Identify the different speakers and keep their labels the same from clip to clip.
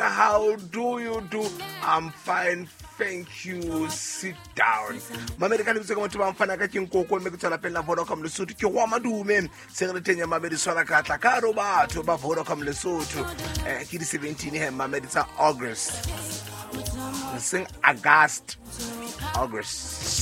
Speaker 1: How do you do? I'm fine, thank you. Sit down. Mamedi ka lebitso ke motho ba mfana ka ke nkoko mme ke tswela pele la Vodacom Lesotho ke go madume se re teng ya mamedi tshwana ka tla ka ro batho ba Vodacom Lesotho ke di 17 he mamedi tsa August, seng August, August.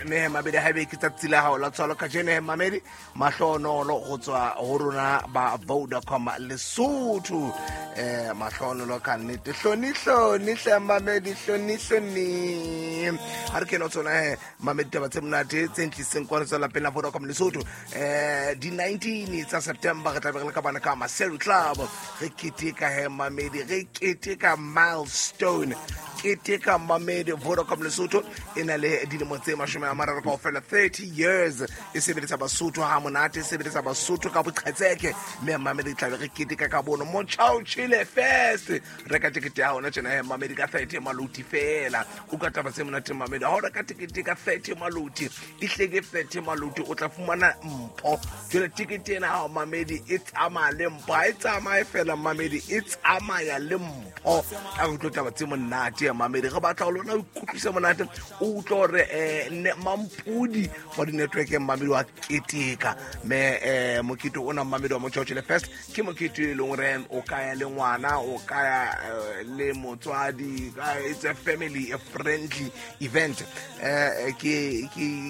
Speaker 1: Mme he mamedi, haebe ke tsatsi la hao la tswalo kajeno he mamedi, mahlonolo go tswa ho rona ba Vodacom Lesotho. Mahlonolo ka nnete, hloni hloni hle mamedi, hloni hloni. Ha re kena tsona he mamedi, taba tse monate tse ntliseng kwano tsa lapeng la Vodacom Lesotho. Di 19 tsa September re tla be re le ka bana ka Maseru Club, re keteka he mamedi, re keteka milestone, keteka mamedi. Vodacom Lesotho e na le dilemo tse 30 kaofela, 30 years e sebeletsa Basotho ha monate, e sebeletsa Basotho ka boqhetseke. Mme mamedi, tlabe re keteka ka bono Motjhao Chile Fest. Reka tekete ya hona tjena he mamedi ka 30 maloti fela. O ka taba tse monate mamedi, ha o reka tekete ka 30 maloti, e hleke 30 maloti, o tla fumana mpho. Jwale tekete ena hao mamedi e tsamaya le mpho, ha e tsamaye fela mamedi, e tsamaya le mpho. A re utlwe taba tse monate ya mamedi, re batla ho lona o ikutlwise monate, o utlwe hore mampudi wa di-network mamedi wa keteka. Mme mokete ona mamedi wa Motjhaotjhele Fest ke mokete e leng hore o ka ya le ngwana, o ka ya le motswadi. It's a family a friendly event. Ke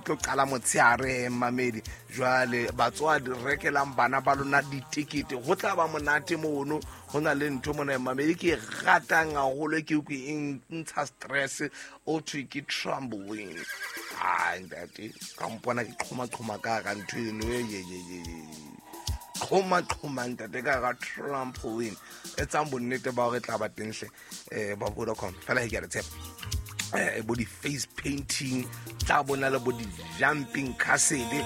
Speaker 1: tlo qala motshehare mamedi. Jwale batswadi, rekelang bana ba lona ditekete, go tla ba monate mono. Go na le ntho mona mamedi ke e ratang haholo, ke utlwe e ntsha stress, o thwe ke trampoline. Ai ntate, ka mpona ke qhoma-qhoma ka ka ntho eno e qhoma-qhoma ntate ka ka trampoline. Etsang bonnete ba hore tla ba tenghle ba Vodacom fela he, ke a le tshepa. Bo di-face painting tla bona le bo di-jumping castle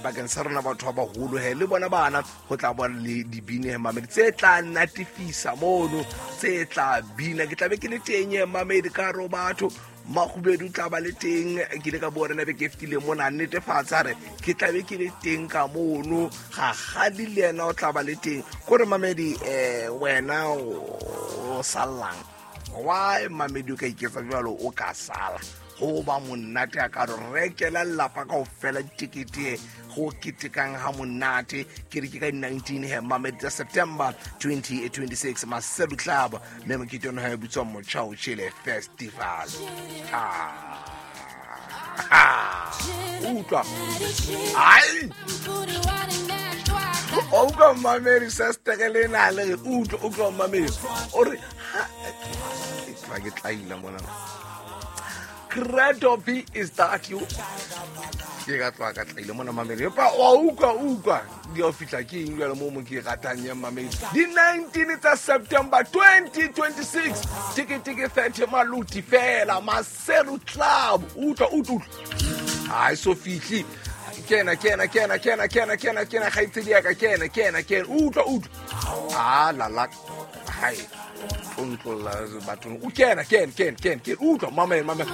Speaker 1: bakeng sa rona batho ba baholo he le bona bana. Go tla bona le dibine he mamedi tse tla natefisa mono, tse tla bina. Ke tlabe ke le teng he mamedi ka ro batho Makgubedu tla ba le teng. Ke ile ka bua rena be ke fetile mona, netefatsa re ke tlabe ke le teng ka mono. Gagadi le yena o tla ba le teng. Kore mamedi, wena o sallang why mamedi o ka iketsa jalo, o ka sala go ba monate a ka re rekela lelapa kao fela ditekete go ketekang ha monate. Ke re ke ka di-19 he mamedi tsa September 2026, Maseru Club, mme mokete ono ha e bitswa Motjhao Chile Festival. Ah, utlwa, ai o utlwa mamedi, sestere le na le re utlwa, utlwa mamedi, o re ha ke tlaila mona. Credo B, is that you? Ke ka tloa ka tlaile mona mamedi, empa wa utlwa, utlwa di o fihla ke eng jale mo mo ke ratang ya mamedi. Di-19 tsa September 2026, tekete ke 30 maluti fela, Maseru Club. Utlwa, utlwa, utlwa, ha e so fihle. Kena, kena, kena, kena, kena, kena, kena, kgaitsedi ya ka, kena, kena, kena, utlwa, utlwa, a lala hai o ntlolla bathong, o kena, kena, kena, kena, kena, utlwa mamela, mamela.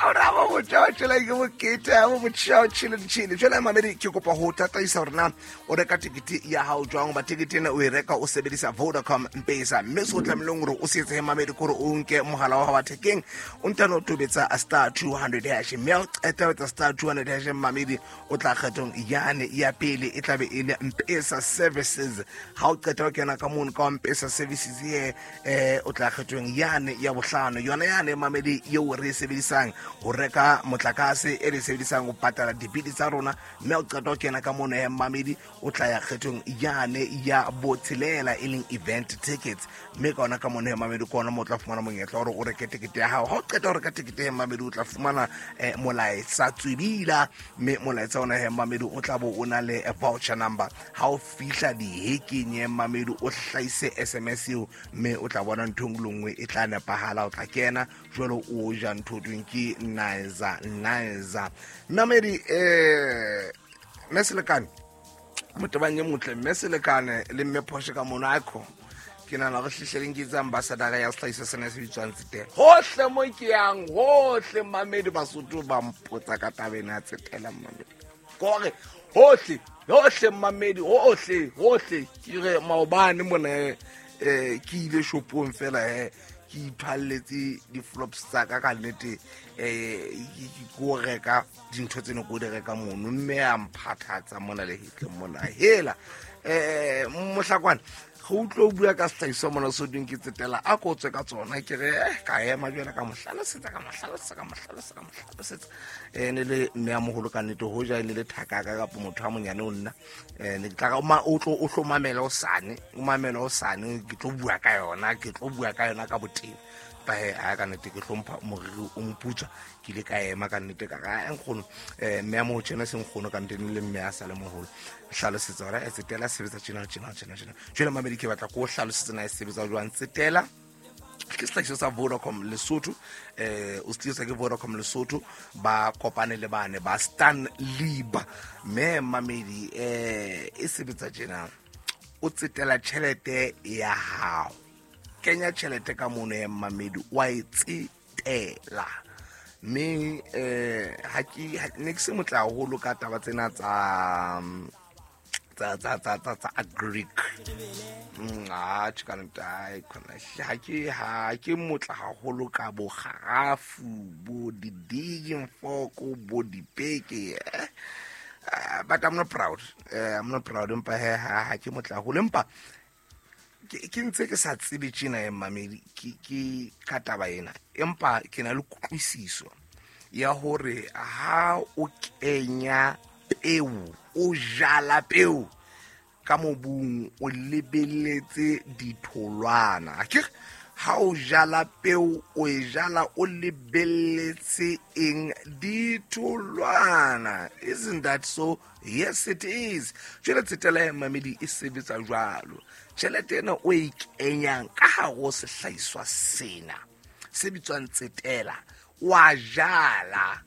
Speaker 1: Ora bo motšhaotšhele ke mokete bo motšhaotšhele ditšhele. Jwale mamedi, ke kopa ho tataisa hore na o reka tekete ya hao jwang, ba tekete ena o e reka o sebedisa Vodacom Mpesa. Mme se o tlamehileng hore o se etse mamedi ke hore o nke mohala wa hao wa thekeng, o ntane o tobetsa *200#. Mme ha o qeta ho etsa *200#, mamedi, o tla kgethong yane ya pele, e tlabe e le Mpesa services. Ha o qeta ho kena ka mono ka Mpesa services ye, o tla kgethong yane ya bohlano, yona yane mamedi eo re e sebedisang ho reka motlakase, e re e sebedisang ho patala dibili tsa rona. Mme ha o qeta ho kena ka mono he mamedi, o tla ya kgethong yane ya botshelela, e leng event tickets. Mme ka ona ka mono he mamedi, ke ona mo o tla fumana monyetla hore o reke tekete ya hao. Ha o qeta ho reka tekete he mamedi, o tla fumana molaetsa tswebila, mme molaetsa ona he mamedi o tla bo o na le voucher number. Ha o fihla dihekeng ye mamedi, o hlahise SMS eo, mme o tla bona ntho engwe le nngwe e tla nepahala. O tla kena jwalo o ja ntho tweng ke nizer nizer mamedi. Mme Selekane, motebang e motle, mme Selekane le mme Phoshe ka mono, aikho. Ke nahana hore hlehleleng ke tse ambassadora ya sehlahiswa sena se bitswang Tsetela. Hohle mo ke yang, hohle mamedi Basotho ba mpotsa ka taba ena ya Tsetela mamedi. Kore hohle, hohle mamedi, hohle, hohle. Ke re maobane mona ke ile shopong fela ke iphalletse di-flops tsa ka ka nnete, ke ko reka dintho tse ne ko di reka mono, mme a mphathatsa mona le hetleng mona. Hela mohlakwane go utlwe o bua ka sehlahiswa mona so ding ke Tsetela, a ko tswe ka tsona. Ke re ka ema jwale ka mo hlalosetsa, ka mo hlalosetsa, ka mo hlalosetsa, ka mo hlalosetsa. Ne le mme a moholo ka nnete, hoja e ne le thakaka kapa motho a monyane o nna, ne ke tla re, o tlo, o tlo mamela o sane, o mamela o sane, ke tlo bua ka yona, ke tlo bua ka yona ka boteng. Ba he, a ka nnete ke hlompha moriri o moputswa, ke ile ka ema ka nnete ka re, nkgono, mme a mo tjena se nkgono ka nnete le mme a sa le moholo. Hlalosetsa hore Tsetela sebetsa tjena, tjena, tjena, tjena. Jwale mamedi ke batla ko hlalosetsa na e sebetsa jwang Tsetela. Ke sehlahiswa sa Vodacom Lesotho, o se tliswa ke Vodacom Lesotho, ba kopane le bane ba Stanlib. Mme mamedi e sebetsa tjena, o tsetela tjhelete ya hao, kenya tjhelete ka mono ya mamedi, wa e tsetela. Mme ha ke, ha, ne ke se motle haholo ka taba tsena tsa, tsa, tsa, tsa, tsa, tsa agric. Tjhe, ka nnete, ai, khona, ha ke, ha ke motle haholo ka bo kgarafu, bo di-digging fork, bo dipeke, but I'm not proud. I'm not proud, empa he, ha ke motle haholo, empa ke ntse ke sa tsebe tjena ya mamedi, ke ka taba ena, empa ke na le kutlwisiso ya hore ha o kenya peo, o jala peo ka mobung, o lebeletse ditholwana. Akere ha o jala peo, o e jala o lebeletse eng? Ditholwana. Isn't that so? Yes, it is. Jwale Tsetela ya mamedi e sebetsa jwalo. Tjhelete ena o e kenyang ka hare ho sehlahiswa sena se bitswang Tsetela, wa jala,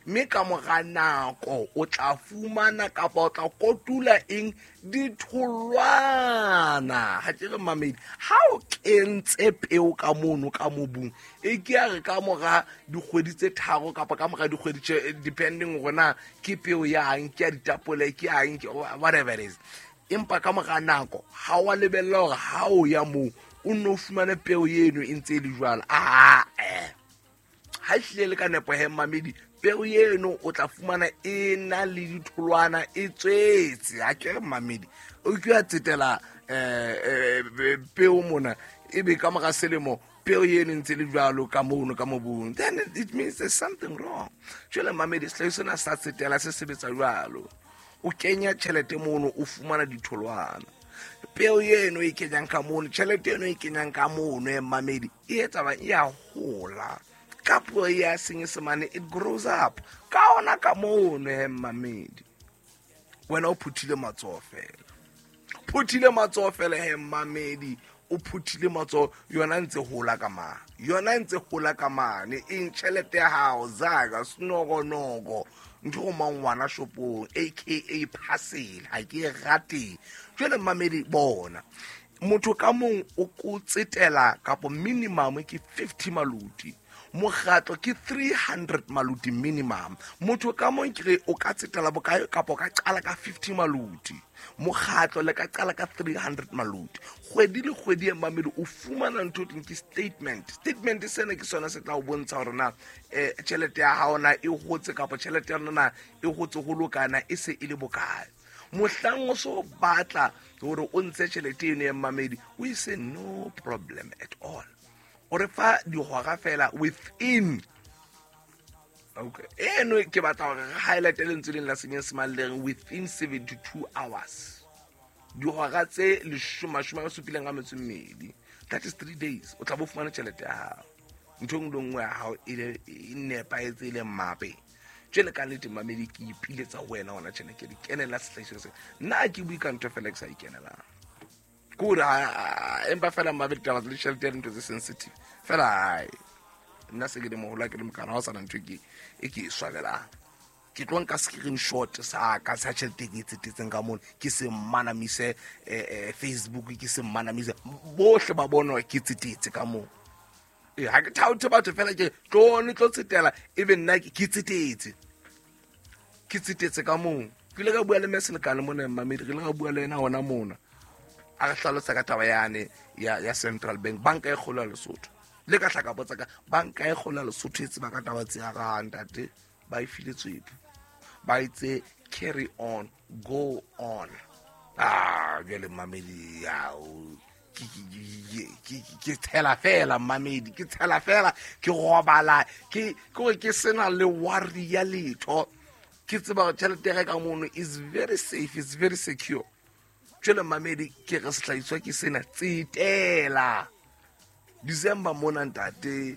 Speaker 1: mme ka mora nako o tla fumana kapa o tla kotula eng? Ditholwana. Ha ke re mamedi, ha o kentse peo ka mono ka mobung, e ke ya re ka mora dikgwedi tse tharo kapa ka mora dikgwedi tse, depending hore na ke peo ya eng, ke ya ditapole, ke ya eng, ke whatever it is. Empa ka mora nako ha wa lebella hore ha o ya moo o nno o fumane peo eno e ntse e le jwalo. Ha e hlile le ka nepo he mamedi, peo eno o tla fumana e na le ditholwana, e tswetse. Ha ke re mamedi, o ke ya tsetela peo mona, ebe ka mora selemo peo eno e ntse le jwalo ka mono ka mobung, then it means there's something wrong. Jwale mamedi, sehlahiswa sena sa Tsetela se sebetsa jwalo. O kenya tjhelete mono, o fumana ditholwana. Peo eno e kenyang ka mono, tjhelete eno e kenyang ka mono ya mamedi, e etsa bang? E a hola. Ka puo ya Senyesemane, it grows up. Ka ona ka mono ya mamedi, wena o phuthile matsoho fela, phuthile matsoho fela he mamedi, o phuthile matsoho, yona ntse hola ka mane, yona ntse hola ka mane. Eng? Tjhelete ya hao, zaka senokonoko, ntho go mang ngwana shopong, aka parcel, ha ke e rate. Jwale mamedi, bona motho ka mong o ko tsetela kapo minimum ke 50 maluti, mokgatlo ke 300 maluti minimum. Motho ka mong ke re o ka tsetela bokae kapo o ka qala ka 50 maluti, mokgatlo le ka qala ka 300 maluti. Kgwedi le kgwedi ya mamedi o fumana ntho teng ke statement. Statement sena ke sona se tla o bontsha hore na tjhelete ya hao na e hotse kapa tjhelete ya rona na e hotse ho lokana, e se e le bokae. Mohlang o so batla hore o ntshe tjhelete eno ya mamedi, o e se no problem at all. O re fa dihora fela within. Okay. Eno ke batla hore re highlight lentswe leng la Senyesemane le reng within 72 hours. Dihora tse mashome a supileng a metso e mmedi. That is 3 days. O tla bo fumana tjhelete ya hao. Ntho e nngwe le nngwe ya hao e le, e nepahetse, e le mmape. Jwale ka nnete mamedi, ke ipiletsa ho wena hona tjena, ke di kenela sehlahiswa sena. Nna ha ke bue ka ntho fela ke sa ikenelang. Ke hore empa fela mmabe ditaba tsa ditjhelete ya dintho tse sensitive. Fela hai, nna se ke le moholo, ha ke le mokana, ha ho sana ntho e ke e swabelang. Ke tlo nka screenshot sa ka sa tšhelete e ke e tsetetseng ka mono, ke se mmanamise Facebook, ke se mmanamise bohle ba bona hore ke tsetetse ka moo. Ee, ga ke thaothe batho fela, ke tlone tlo tsetela, ebe nna ke tsetetse, ke tsetetse ka moo. Ke ile ka bua le meselekane mona, mmamedi, re ile ka bua le ena hona mona, a re hlalosa ka taba yane ya Central Bank, banka e kgolo ya Lesotho. Le ka hla ka botsa ka banka e kgolo ya Lesotho e tseba ka taba tse ya ga ntate, ba e file tswepu, ba itse carry on, go on. Ah, jwale mmamedi, ao ke tshela fela, mmamedi, ke tshela fela, ke robala ke gore ke sena le worry ya letho. Ke tseba gore tšhelete ya ka mono is very safe, is very secure. Jwale mmamedi, ke re sehlahiswa ke sena, tsetela December mona ntate.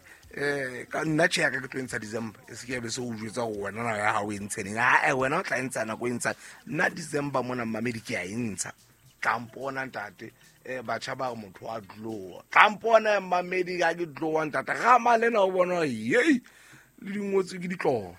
Speaker 1: Ka nna tjhe ya ka ke tlo ntsha December, e se ke ya be se o jwetsa gore wena nako ya gago e ntsheneng. Ae, wena o tla e ntsha nako e ntsha. Nna December mona, mmamedi, ke a e ntsha. Tlampona ntate. Batjha ba re motho wa tloa, tlampona mmamedi, ka ke tloa ntate gama lena o bona yei le dingwotswe ke ditlolo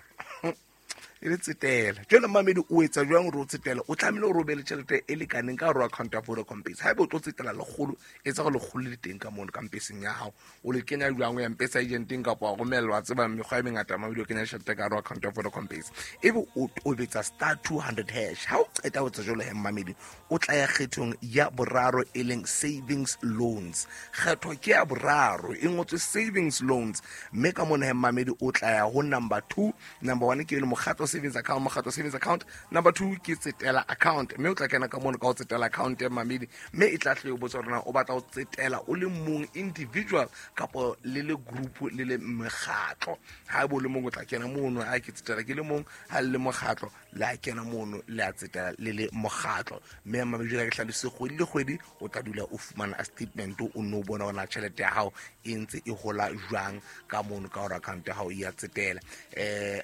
Speaker 1: e le tsetela. Jwale mmamedi, o etsa jwang gore o tsetela? O tlamehile gore o be le tšhelete e lekaneng ka gare account ya Vodacom Pesa. Haeba o tlo tsetela 100, etsa gore 100 le teng ka mono ka mpeseng ya gago. O le kenya jwang? O ya Mpesa agenteng kapa wa romellwa, tseba mekgwa e mengata mamedi o kenya tšhelete ka gare account ya Vodacom Pesa, ebe o tobetsa *200#. Ha o qeta ho etsa jwalo he mmamedi, o tla ya kgethong ya boraro e leng savings loans. Kgetho ke ya boraro e ngotswe savings loans, mme ka mona he mmamedi o tla ya ho number 2. Number 1 ke le mokgatlo savings account, mokgatlo savings account. Number 2 ke tsetela account, mme o tla kena ka mono ka ho tsetela account ya mmamedi, mme e tla hle o botsa hore na o batla ho tsetela o le mong individual kapo le le group le le mekgatlo. Ha ebe o le mong o tla kena mono, ha ke tsetela ke le mong, ha le le mokgatlo le a kena mono, le a tsetela le le mokgatlo. Mme mmamedi, jwale ke hlalositse, kgwedi le kgwedi o tla dula o fumana a statement, o nno o bona hore na tjhelete ya hao e ntse e hola jwang ka mono ka hore account ya hao e ya tsetela.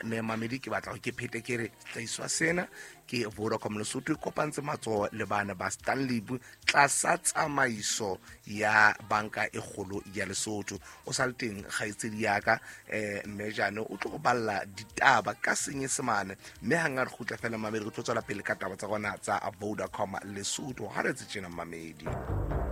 Speaker 1: Mme mamedi, ke batla hore ke phete ke re sehlahiswa sena ke Vodacom Lesotho e kopantse matsoho le bana ba Stanlib tlasa tsamaiso ya banka e kgolo ya Lesotho. O sa le teng kgaitsedi ya ka, mme jane o tlo go balla ditaba ka Senyesemane, mme hang a re kgutla fela mamedi, re tlo tswela pele ka taba tsa rona tsa Vodacom Lesotho. Ha re tse tjena mmamedi.